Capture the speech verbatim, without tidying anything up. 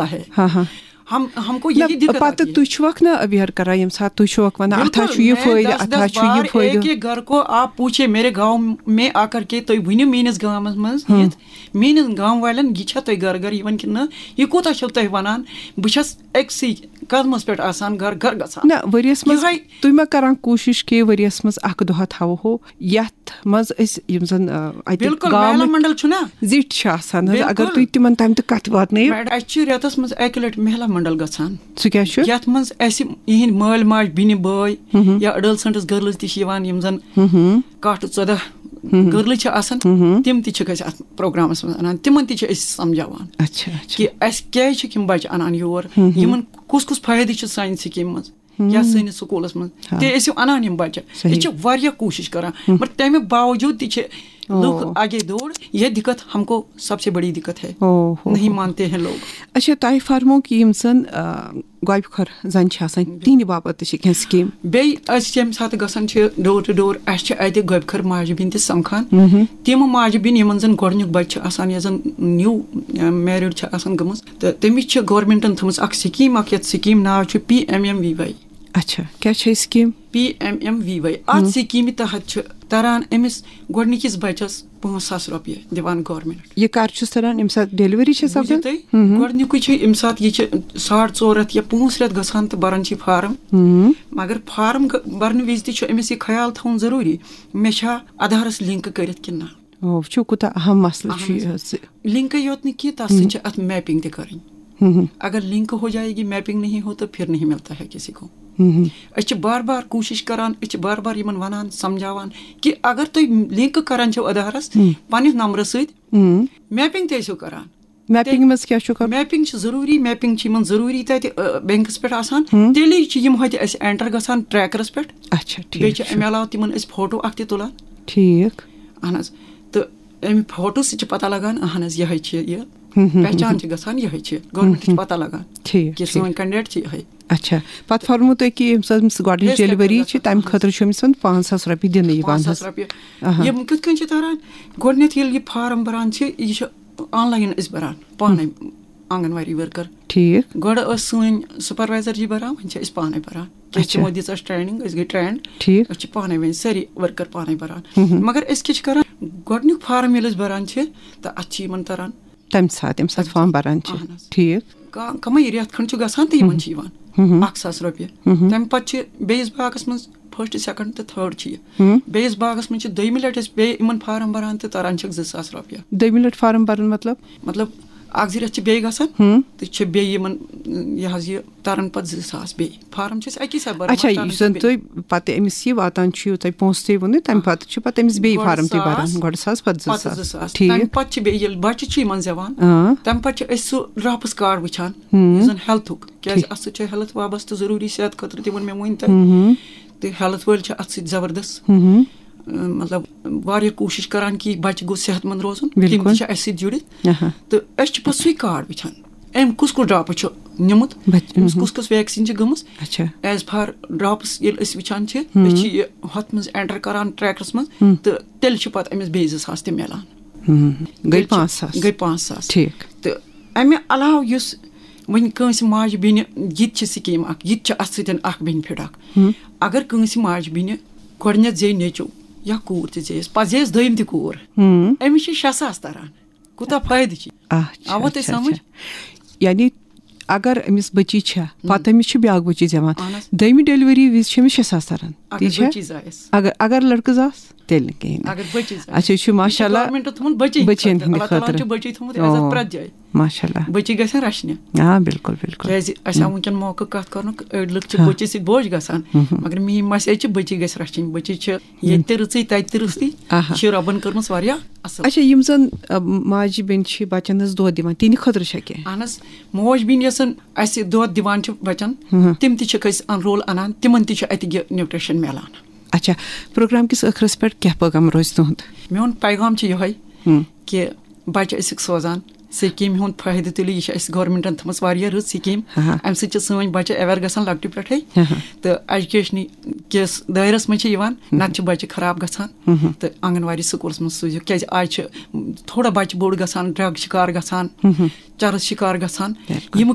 होता है। ہاں ہاں۔ ہم ہم کو نہ، یہی دقت آتی پتہٕ ہے۔ تُہۍ چھُوکھ نا اویئر کران ییٚمہِ ساتہٕ تُہۍ چھُوکھ وَنان اَتھ ہا چھُ یہِ میں فٲیدٕ، دس اَتھ ہا دس چھُ یہِ بار فٲیدٕ۔ ایک ایک گھر کو آپ پوچھے، میرے گاؤں میں آ کر کے تُہۍ ؤنِو میٲنِس گامس منٛز یِتھ، میٲنِس گام والٮ۪ن یہِ چھا تۄہہِ گرٕ گرٕ یِوان کِنہٕ نہ، یہِ کوٗتاہ چھِو تُہۍ وَنان؟ بہٕ چھَس أکسٕے قدمس پٮ۪ٹھ آسان، گرٕ گرٕ گژھان۔ نہ، ؤریَس منٛز یِہوٚے تُہۍ ما کران کوٗشِش کہِ ؤریَس منٛز اَکھ دۄہ تھاوہو یَتھ منٛز أسۍ یِم زَن آ، اَتہِ بِلکُل، گامٕکۍ مہلا منڈل چھُنہ؟ زِٹھۍ چھِ آسان حظ، اگر بِلکُل۔ تُہۍ تِمن تَمہِ تہٕ کَتھ واتنٲیِو۔ میڈم، اَسہِ چھِ رٮ۪تَس منٛز اَکہِ لَٹہِ مہلا منڈل گژھان، سُہ کیٛاہ چھُ؟ یَتھ منٛز اَسہِ یِہِنٛدۍ مٲلۍ ماجہِ، بیٚنہِ بٲے یا adolescents girls تہِ چھِ یِوان، یِم زَن کاٹھ ژۄداہ girls چھِ آسان، تِم تہِ چھِکھ أسۍ اَتھ پروگرامَس منٛز اَنان، تِمَن تہِ چھِ أسۍ سَمجھاوان اچھا اچھا۔ کہِ اَسہِ کیٛازِ چھِ یِم بَچہٕ اَنان یور، یِمَن کُس کُس فٲیدٕ چھِ سانہِ سکیٖمہِ منٛز یا سٲنِس سکوٗلَس منٛز۔ تہِ ٲسِو اَنان یِم بَچہٕ، صحیح۔ أسۍ چھِ واریاہ کوٗشِش کَران، مگر تَمہِ باوجوٗد تہِ چھِ لُکھ او۔ آگے دور۔ یہ دقت ہم کو سب سے بڑی دقت ہے، او ہو۔ نہیں مانتے ہیں لوگ۔ اچھا، تۄہہِ فرمو کہِ یِم زَن آ، گۄبہِ خۄر زَن چھِ آسان، تِہنٛدِ باپتھ تہِ چھِ کینٛہہ سکیٖم۔ بیٚیہِ أسۍ ییٚمہِ ساتہٕ گژھان چھِ door to door، اَسہِ چھِ اَتہِ گۄبہِ خۄر ماجہِ بیٚنہِ تہِ سَمکھان۔ تِم ماجہِ بیٚنہِ یِمَن زَن گۄڈٕنیُک بَچہٕ چھُ آسان یا زَن new married چھِ آسان گٔمٕژ، تہٕ تٔمِس چھِ گورمٮ۪نٛٹَن تھٲومٕژ اَکھ سکیٖم اَکھ، یَتھ سکیٖم ناو چھُ P M M V Y. اچھا، کیٛاہ چھِ یہِ scheme? P M M V Y, اَتھ سکیٖمہِ تحت چھِ تران أمِس گۄڈٕنِکِس بَچَس پانٛژھ ساس رۄپیہِ دِوان گورمٮ۪نٛٹ۔ یہِ کر چھُس تران؟ ییٚمہِ ساتہٕ ڈیلیوری چھِ بوٗزِو سپدان؟ تُہۍ، گۄڈٕنیُکُے چھُ ییٚمہِ ساتہٕ یہِ چھِ ساڑ ژور رٮ۪تھ یا پانٛژھ رٮ۪تھ گژھان تہٕ بران چھِ فارم۔ مگر فارم گ- برنہٕ وِزِ تہِ چھُ أمِس یہِ خیال تھاوُن ضروٗری، مےٚ چھا آدھارس لِنک کٔرِتھ کِنہٕ نہ؟ او، وٕچھِو کوٗتاہ اہم مسلہٕ چھُ اہن یہِ حظ۔ حظ۔ لِنکٕے یوت نہٕ کینٛہہ، تَتھ سۭتۍ چھِ اَتھ میپِنٛگ تہِ کَرٕنۍ۔ اگر لِنک ہو جائے گی، میپِنٛگ نہیں ہو تو پھر نہیں ملتا ہے کسی کو۔ أسۍ چھِ بار بار کوٗشِش کَران، أسۍ چھِ بار بار یِمَن وَنان، سَمجھاوان کہِ اگر تُہۍ لِنک کَران چھِو آدھارَس پنٛنِس نمبرَس سۭتۍ، میپِنٛگ تہِ ٲسِو کَران۔ میپِنٛگ منٛز کیٛاہ چھُ کَرُن؟ میپِنٛگ چھِ ضروٗری، میپِنٛگ چھِ یِمَن ضروٗری تَتہِ، آ، بینکَس پٮ۪ٹھ آسان۔ تیٚلی چھِ یِم ہوٚتہِ اَسہِ اینٹر گژھان ٹریکرَس پٮ۪ٹھ۔ اچھا، بیٚیہِ ٹھیٖک چھِ چھُ۔ اَمہِ علاوٕ تِمَن أسۍ فوٹو اَکھ تہِ تُلان۔ ٹھیٖک۔ اہن حظ۔ تہٕ اَمہِ فوٹو سۭتۍ چھِ پَتہ لَگان، اہن حظ، یِہوٚے چھِ یہِ۔ پہچان چھِ گژھان، یِہوٚے چھِ۔ گورمٮ۪نٛٹَس چھِ پَتہ لَگان ٹھیٖک، کہِ ٹھیٖک۔ سٲنۍ کینڈیڈیٹ چھِ یِہوٚے۔ اچھا، پتہٕ فرمو تۄہہِ کہِ ییٚمہِ ساتہٕ أمِس گۄڈٕنِچ Face capture ڈیلیوری گژھان چھِ، تَمہِ حظ۔ خٲطرٕ چھُ أمِس وَن پانٛژھ ساس رۄپیہِ دِنہٕ یِوان پانٛژھ ساس حظ۔ رۄپیہِ۔ اہا۔ یِم کِتھ کٔنۍ چھِ تَران؟ گۄڈٕنٮ۪تھ ییٚلہِ یہِ فارم بَران چھِ، یہِ چھِ آن لاین أسۍ بَران پانَے، آنٛگَن واڑی ؤرکَر۔ ٹھیٖک۔ گۄڈٕ ٲس سٲنۍ سپروایزر جی بَران، وۄنۍ چھِ أسۍ پانَے بَران۔ کیٛازِ اچھا۔ تِمو دِژ اَسہِ ٹریننگ، أسۍ گٔے ٹرینڈ۔ ٹھیٖک۔ أسۍ چھِ پانَے وۄنۍ سٲری ؤرکَر پانَے بَران۔ مگر أسۍ کیٛاہ چھِ کَران؟ گۄڈٕنیُک فارم ییٚلہِ أسۍ بَران چھِ، تہٕ اَتھ چھِ یِمَن تَران۔ تَمہِ ساتہٕ، ییٚمہِ ساتہٕ فارم بَران چھِ۔ اہن حظ۔ ٹھیٖک۔ کا-، کَمٕے رٮ۪تھ کھنٛڈ چھُ گژھان تہٕ یِمَن چھِ یِوان اَکھ ساس رۄپیہِ۔ تَمہِ پَتہٕ چھِ بیٚیِس باغَس منٛز first، second تہٕ third چھِ یہِ۔ بیٚیِس باغَس منٛز چھِ دوٚیمہِ لَٹہِ أسۍ بیٚیہِ یِمَن فارم بَران تہٕ تَران چھِکھ زٕ ساس رۄپیہِ۔ دوٚیمہِ لَٹہِ فارم بَرُن مطلب؟ مطلب، اَکھ زٕ رٮ۪تھ چھِ بیٚیہِ گژھان تہٕ چھِ بیٚیہِ یِمَن، یہِ حظ یہِ تَران پَتہٕ زٕ ساس بیٚیہِ۔ فارم چھِ أسۍ اَکی ساتہٕ بَران، اچھا، مگر تَران یُس چھِ زَن بیٚیہِ۔ تۄہہِ پَتہٕ أمِس یہِ واتان چھُ، یہِ تۄہہِ پونٛسہٕ تُہۍ ووٚنُے، تَمہِ پَتہٕ چھُ پَتہٕ أمِس بیٚیہِ گۄڈٕ فارم تہِ بَران، ساس۔ گۄڈٕ ساس، پَتہٕ زٕ پَتہٕ ساس۔ زٕ ساس۔ ٹھیٖک۔ تَمہِ پَتہٕ چھِ بیٚیہِ ییٚلہِ بَچہِ چھِ یِمَن زٮ۪وان، آ۔ تَمہِ پَتہٕ چھِ أسۍ سُہ ڈراپٕس کارڈ وٕچھان، یُس زَن ہیلتھُک، کیٛازِ اَتھ سۭتۍ چھِ ہیلتھ وابستہٕ ضروٗری، صحت خٲطرٕ تہِ ووٚن مےٚ وٕنۍ تۄہہِ۔ تہٕ ہیلتھ وٲلۍ چھِ اَتھ سۭتۍ زبردست، اۭں، مطلب، واریاہ کوٗشِش کَران کہِ یہِ بَچہِ گوٚژھ صحت مند روزُن، تِم بِلکُل۔ تہِ چھِ اَسہِ سۭتۍ جُڑِتھ۔ اہا۔ تہٕ أسۍ چھِ پَتہٕ سُے کارڈ وٕچھان، أمۍ کُس کُس ڈراپٕس چھُ نیومُت، بَچ-، أمِس اہا۔ کُس کُس ویکسیٖن چھِ گٔمٕژ، اچھا۔ ایز فار ڈراپٕس ییٚلہِ أسۍ وٕچھان چھِ، أسۍ چھِ یہِ ہۄتھ منٛز اینٹر کَران ٹریکرَس منٛز، تہٕ تیٚلہِ چھِ پَتہٕ أمِس بیٚیہِ زٕ ساس تہِ مِلان۔ ہم۔ گٔے تیٚلہِ چھِ، پانٛژھ ساس۔ گٔے پانٛژھ ساس۔ ٹھیٖک۔ تہٕ اَمہِ علاوٕ یُس وۄنۍ کٲنٛسہِ ماجہِ بیٚنہِ، یہِ تہِ چھِ سکیٖم اَکھ، یہِ تہِ چھِ اَتھ سۭتۍ اَکھ بینِفٹ اَکھ۔ اگر کٲنٛسہِ ماجہِ بیٚنہِ گۄڈٕنٮ۪تھ زیٚیہِ نیٚچو یا کوٗر تہِ زیٚیَس، پَتہٕ زیٚیَس دوٚیِم تہِ کوٗر، أمِس چھِ شےٚ ساس تَران۔ کوٗتاہ فٲیدٕ چھِ؟ اچھا، آوا تۄہہِ اچھا، سمجھ؟ اچھا۔ یعنی اگر أمِس بٔچی چھےٚ، پَتہٕ أمِس چھِ بیٛاکھ بٔچی زٮ۪وان، اہن حظ۔ دوٚیمہِ ڈیلیوری وِزِ چھِ أمِس شےٚ ساس تَران، اگر تی چھا؟ بٔچی زایَس۔ اگر، اگر لڑکہٕ زاس، تیٚلہِ نہٕ کِہیٖنۍ نہٕ۔ اگر بٔچی زایَس۔ اچھا، یہِ چھُ ماشاء اللہ گورمنٹَن تھوٚمُت بٔچی بٔچیَن خٲطرٕ۔ ہِنٛدِ اللہ تعالیٰ ہَن خٲطرٕ۔ چھُ بٔچی تھوٚمُت او، عزت پرٛٮ۪تھ جایہِ۔ ماشاء اللہ۔ بٔچی گژھن رَچھنہِ۔ آ، بِلکُل، بِلکُل۔ کیٛازِ اَسہِ آو وٕنکٮ۪ن موقعہٕ کَتھ کَرنُک، أڑۍ لُکھ چھِ بٔچی سۭتۍ بوج گژھان، مگر میٛٲنۍ مَس ییٚتہِ چھِ بٔچی گژھِ رَچھِنۍ۔ بٔچی چھِ ییٚتہِ تہِ رٕژٕے، تَتہِ تہِ رٕژٕے۔ آہا۔ یہِ چھِ رۄبَن کٔرمٕژ واریاہ اَصٕل۔ اچھا، یِم زَن، آ، ماجہِ بیٚنہِ چھِ بَچَن ہٕنٛز دۄد دِوان، تِہِنٛدِ خٲطرٕ چھا کینٛہہ؟ اہن حظ، موج بیٚنہِ یۄس زَن اَسہِ دۄد دِوان چھِ بَچَن، تِم تہِ چھِکھ أسۍ اَن-، رول اَنان، تِمَن تہِ چھُ اَتہِ یہِ نیوٗٹریشَن مِلان۔ اچھا، پروگرام کِس ٲخرَس پٮ۪ٹھ کیٛاہ پیغام روزِ تُہُنٛد؟ میون پیغام چھُ یِہوٚے کہِ بَچہٕ ٲسِکھ سوزان سکیٖم ہُنٛد فٲیدٕ تُلِو، یہِ چھِ اَسہِ گورمٮ۪نٛٹَن تھٲومٕژ واریاہ رٕژ سکیٖم۔ ہاں۔ اَمہِ سۭتۍ چھِ سٲنۍ بَچہِ aware گژھان لۄکٹہِ پٮ۪ٹھَے۔ ہاں۔ تہٕ ایجوکیشنہٕ کِس دٲیرَس منٛز چھِ یِوان، نَتہٕ چھِ بَچہِ خراب گژھان۔ تہٕ آنٛگَن واڑی سکوٗلَس منٛز سوٗزِو، کیٛازِ آز چھِ تھوڑا بَچہِ بوٚڑ گژھان، ڈرٛگ شِکار گژھان، چرس شِکار گژھان۔ بِلکُل۔ یِم